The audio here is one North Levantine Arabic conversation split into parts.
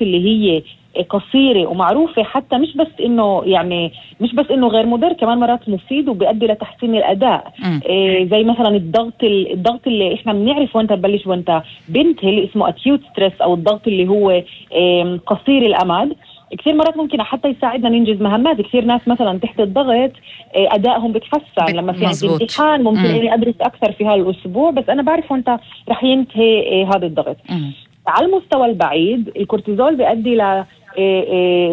اللي هي قصيرة ومعروفة، حتى مش بس انه غير مضر، كمان مرات مفيد وبيؤدي لتحسين الاداء. زي مثلا الضغط اللي احنا بنعرف وانت تبلش وانت بنت، اللي اسمه acute stress او الضغط اللي هو قصير الامد. كثير مرات ممكن حتى يساعدنا ننجز مهمات. كثير ناس مثلا تحت الضغط ادائهم بتحسن، لما في عندي امتحان ممكن اني ادرس اكثر في هالاسبوع، بس انا بعرف وانت رح ينتهي هذا الضغط. على المستوى البعيد الكورتيزول بيؤدي ل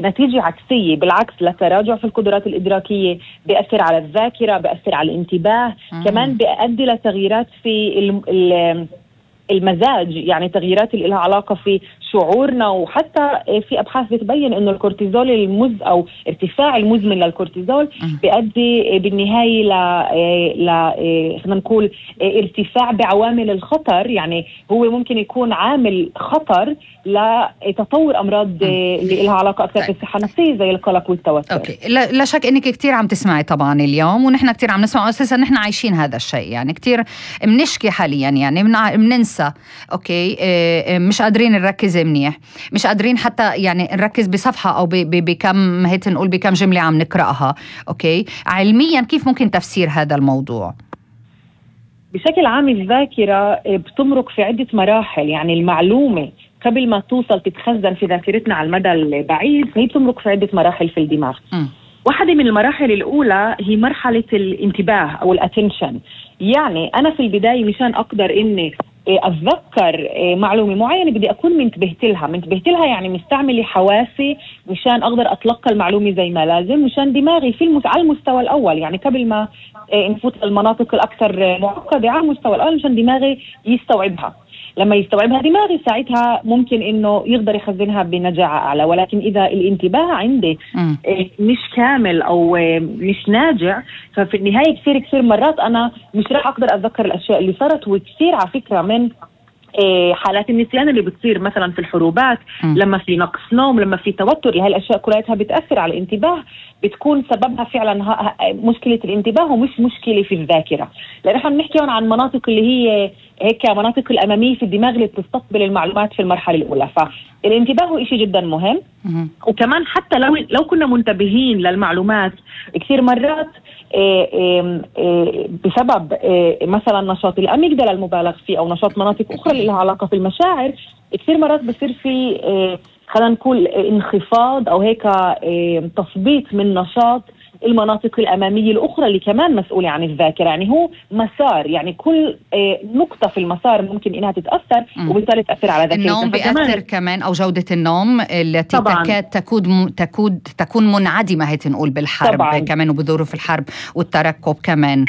نتيجة عكسية، بالعكس لتراجع في القدرات الإدراكية، بيأثر على الذاكرة، بيأثر على الانتباه، كمان بيؤدي لتغييرات في المزاج، يعني تغييرات اللي لها علاقة في شعورنا. وحتى في أبحاث بتبين إنه الكورتيزول أو ارتفاع المزمن للكورتيزول بيؤدي بالنهاية خلينا نقول ارتفاع بعوامل الخطر، يعني هو ممكن يكون عامل خطر لتطور أمراض اللي لها علاقة أكثر بالصحة النفسية زي القلق والتوتر. أوكي. لا شك إنك كتير عم تسمعي طبعا اليوم، ونحن كتير عم نسمع، أساسا نحن عايشين هذا الشيء، يعني كتير بنشكي حاليا، يعني بننسى. أوكي. مش قادرين نركز منيح، مش قادرين حتى يعني نركز بصفحة أو بكم هيك نقول بكم جملة عم نقرأها. أوكي. علميا كيف ممكن تفسير هذا الموضوع؟ بشكل عام الذاكرة بتمرق في عدة مراحل، يعني المعلومة قبل ما توصل تتخزن في ذاكرتنا على المدى البعيد هي بتمرق في عدة مراحل في الدماغ. واحدة من المراحل الأولى هي مرحلة الانتباه أو الاتنشن. يعني أنا في البداية مشان أقدر إني أتذكر معلومة معينة بدي أكون منتبهت لها، يعني مستعملة حواسي مشان أقدر أتلقى المعلومة زي ما لازم، مشان دماغي على المستوى الأول، يعني قبل ما نفوت المناطق الأكثر معقدة، على المستوى الأول مشان دماغي يستوعبها. لما يستوعبها دماغي ساعتها ممكن إنه يقدر يخزنها بنجاعة أعلى. ولكن إذا الانتباه عندي مش كامل أو مش ناجع، ففي النهاية كثير مرات أنا مش راح أقدر أتذكر الأشياء اللي صارت. وكثير على فكرة من حالات النسيان اللي بتصير مثلا في الحروبات، لما في نقص نوم، لما في توتر، هاي الأشياء كلها بتأثر على الانتباه، بتكون سببها فعلا مشكلة الانتباه ومش مشكلة في الذاكرة. لأن احنا بنحكي عن مناطق اللي هي هيك مناطق الأمامية في الدماغ اللي بتستقبل المعلومات في المرحلة الأولى. فالانتباه هو إشي جدا مهم. وكمان حتى لو كنا منتبهين للمعلومات كثير مرات بسبب مثلا نشاط الأميجدلا المبالغ فيه أو نشاط مناطق أخرى اللي لها علاقة في المشاعر، كثير مرات بصير في خلينا نقول انخفاض أو هيك تثبيط من نشاط المناطق الأمامية الأخرى اللي كمان مسؤولة عن الذاكرة. يعني هو مسار، يعني كل نقطة في المسار ممكن إنها تتأثر وبالتالي تأثر على ذاكرة. النوم بيأثر كمان، أو جودة النوم التي تكون منعدمة هيك نقول بالحرب طبعاً. كمان وبظروف الحرب والترقب كمان.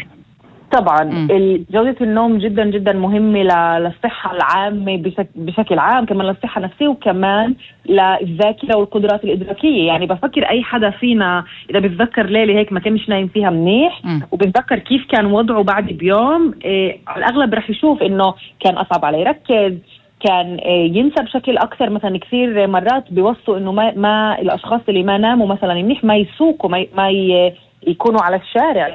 طبعا جودة النوم جدا جدا مهمة للصحة العامة بشكل عام، كمان للصحة النفسية وكمان للذاكرة والقدرات الإدراكية. يعني بفكر أي حدا فينا إذا بتذكر ليلة هيك ما كانش نايم فيها منيح وبتذكر كيف كان وضعه بعد بيوم، على الأغلب رح يشوف إنه كان أصعب عليه يركز، كان ينسى بشكل أكثر. مثلا كثير مرات بيوصوا إنه ما الأشخاص اللي ما ناموا مثلا منيح ما يسوقوا، ما يكونوا على الشارع،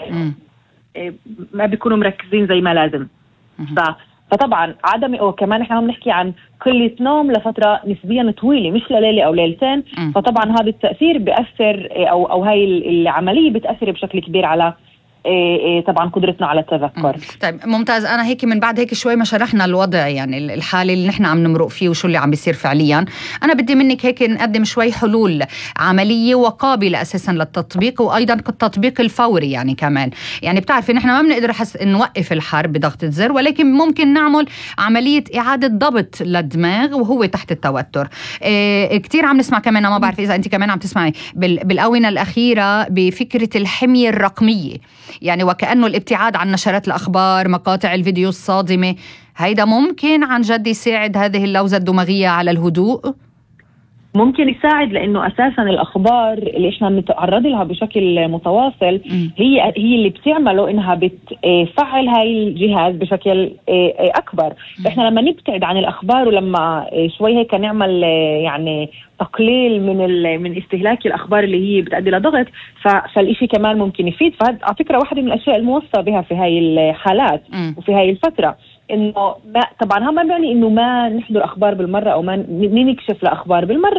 ما بيكونوا مركزين زي ما لازم. فطبعا وكمان احنا عم نحكي عن قلة نوم لفترة نسبيا طويلة، مش لليلة او ليلتين. فطبعا هذا التأثير بيأثر او هاي العملية بتأثر بشكل كبير على طبعا قدرتنا على التذكر. طيب ممتاز. أنا هيك من بعد هيك شوي ما شرحنا الوضع، يعني الحالة اللي نحن عم نمرق فيه وشو اللي عم بيصير فعليا، أنا بدي منك هيك نقدم شوي حلول عملية وقابلة أساسا للتطبيق، وأيضا التطبيق الفوري. يعني كمان يعني بتعرفي نحن ما بنقدر نوقف الحرب بضغطة زر، ولكن ممكن نعمل عملية إعادة ضبط للدماغ وهو تحت التوتر. كتير عم نسمع كمان، ما بعرف إذا أنت كمان عم تسمعي بالآونة الأخيرة بفكرة الحمية الرقمية، يعني وكأنه الابتعاد عن نشرات الأخبار، مقاطع الفيديو الصادمة. هيدا ممكن عن جد يساعد هذه اللوزة الدماغية على الهدوء؟ ممكن يساعد، لأنه أساساً الأخبار اللي إحنا بنتعرض لها بشكل متواصل هي اللي بتعمله إنها بتفعل هاي الجهاز بشكل أكبر. إحنا لما نبتعد عن الأخبار ولما شوي هيك نعمل يعني تقليل من استهلاك الأخبار اللي هي بتؤدي لضغط، فالإشي كمان ممكن يفيد. فهذا على فكرة واحدة من الأشياء الموصى بها في هاي الحالات وفي هاي الفترة. انه ما طبعا هم ما بيعني انه ما نحضر اخبار بالمره او ما نكشف لاخبار بالمره،